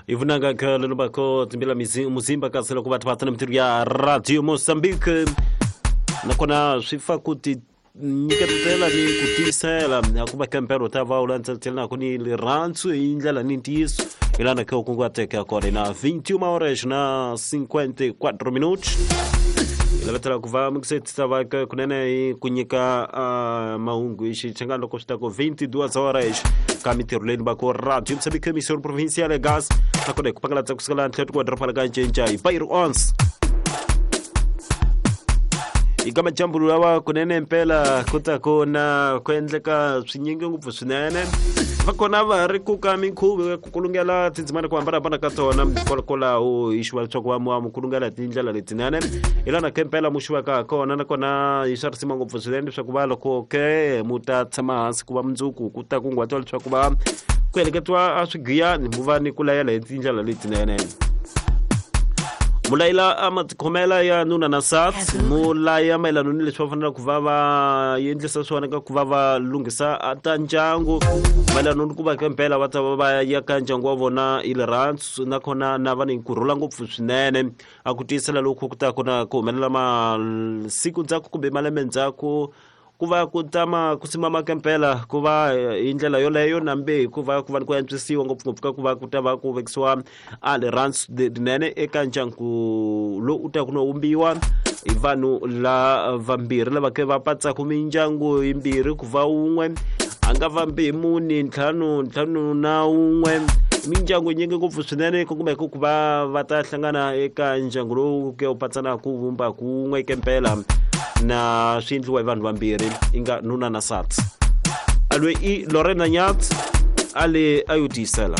Ivunanga khale lobako timbila muzimba kasi loko vathu va tana mintirho ya Radio Mozambique nakona swi fa ku ti nyiketela ni ku tiyisela ku va kempero ta va u landzelela ni rirhandzu hi ndlela ni ntiyiso hi lana ke u kunguhateke kona na 21 horas na 54 minutos hi lavetela ku va mukiseti va ke kunene hi ku nyika mahungu hi xichangani loko swi ta ku 22 horas ka mintirho leyi va ku Radio Mozambique Emissão Provincial ya Gas nakona hi ku pangalatsa kusukela ntlhelo wa doroba la ka Ncinca hi Bairro 11 eka majambu lawa kunene mpela ku ta ku na ku endleka swinyingi ngopfu swinene va kona va ri ku ka minkhuvo ya ku kulungela tindzimana ku hambanahambana ka tona kwalaho hi xiva leswaku va mu kulungela hi tindlela letinene hi lana ke mpela mu xivaka kona nakona hi swa risima ngopfu swinene leswaku va loko ke mu ta tshama hansi ku va mundzuku ku ta kunguhatiwa leswaku va ku heleketiwa a swigiyani mu va ni ku layela hi tindlela letinene. Mulayila a matikhomela ya nuna na nsati mulaya mayelana ni leswi va faneleke ku va va endlisa swona ka ku va va lunghisa ta ndyangu mayelana ni ku va ka mpela va ta va va ya ka ndyangu wa vona hi rirhandzu nakona na va ni kurhula ngopfu swinene a ku tiyisela loku ku ta ku na ku humelela masiku ndzhaku kumbe malembe ndzhaku ku va ku tama ku simama ka mpela ku va hi ndlela yoleyo nambe hikuva ku va ni ku antswisiwa ngopfungopfu ka ku va ku ta va ku vekisiwa a rirhandzu rinene eka ndyangu lowu u ta ku no vumbiwa hi vanhu la vambirhi lava ke va patsaka mindyangu yimbirhi ku va wun'we a nga vambi hi mune ntlhanu ntlhanu na wun'we mindyangu yinyingi ngopfu swinene ku kumeka ku va va ta hlangana eka ndyangu lowu ke u patsanaka ku vumba kun'we ke mpela na swi endliwa hi vanhu vambirhi i nga nuna na nsati alwe i Lorena Nyat a le a yo tiyisela.